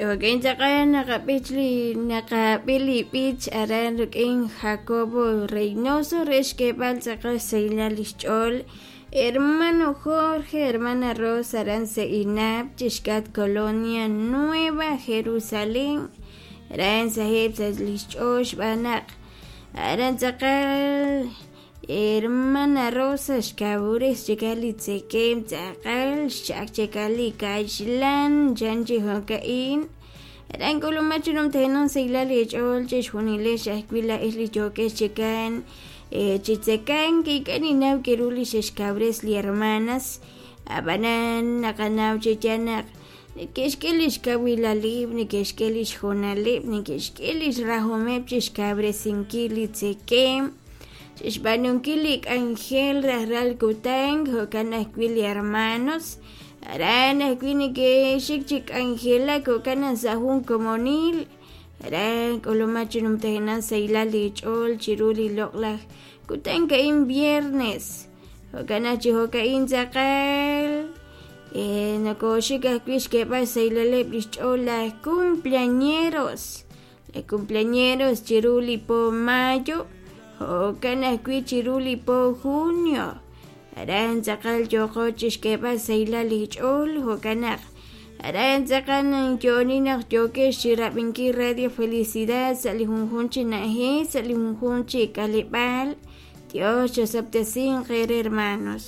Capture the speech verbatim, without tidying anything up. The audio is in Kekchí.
Chi'jo'kan tz'aqal naqab'ich li naqab'i li b'ich aran rik'in Jacobo Reynoso re xk'eeb'al tz'aqal xsahilal li xch'ool hermano Jorge, hermana Rosa aran Seinap chixk'atq Colonia Nueva Jerusalén aran saheb' sa' li xch'ool xb'aan naq aran tz'aqal hermana Rosa xkawres chikal li tzekeem tz'aqal xch'ak chikal li kaxlan chan chi jo'ka'in aran k'ulumaj chi numtajenaq sahilal eech'ool chixjunilex ajwi' laa'ex li yookex chikan chi tzekank ink'a' ninnaw k'aru li xe'xkawres li hermanas ab'anan naqanaw chi yaal naq neke'xk'e li xkawilaleb', neke'xk'e li xjoonaleb', neke'xk'e li xrajomeb' chi xkawresinkil li tzekeem xb'aanunkil li k'anjel rajlal kutan jo'kan ajwi' li hermanos aran ajwi' neke'xik chi k'anjelak jo'kan naq sa' jun komonil aran k'ulumaj chi numtajenaq sahilal eech'ool chiru li loq'laj kutan ka'in viernes jo'kan naq chi jo'ka'in tz'aqal nokoxik ajwi' xk'eeb'al xsahilaleb' li xch'ool laj cumpleañeros laj cumpleañeros chiru li po mayo jo'kan ajwi' chiru li po junio aran tz'aqal yooqo chixk'eeb'al sahilal eech'ool jo'kan naq aran tz'aqal yo'oni naq yookex chirab'inkil Radio Felicidad sa' li junjunq chi na'ajej sa' li junjunq chi k'aleb'aal Dios chosob'tesinq eere hermanos.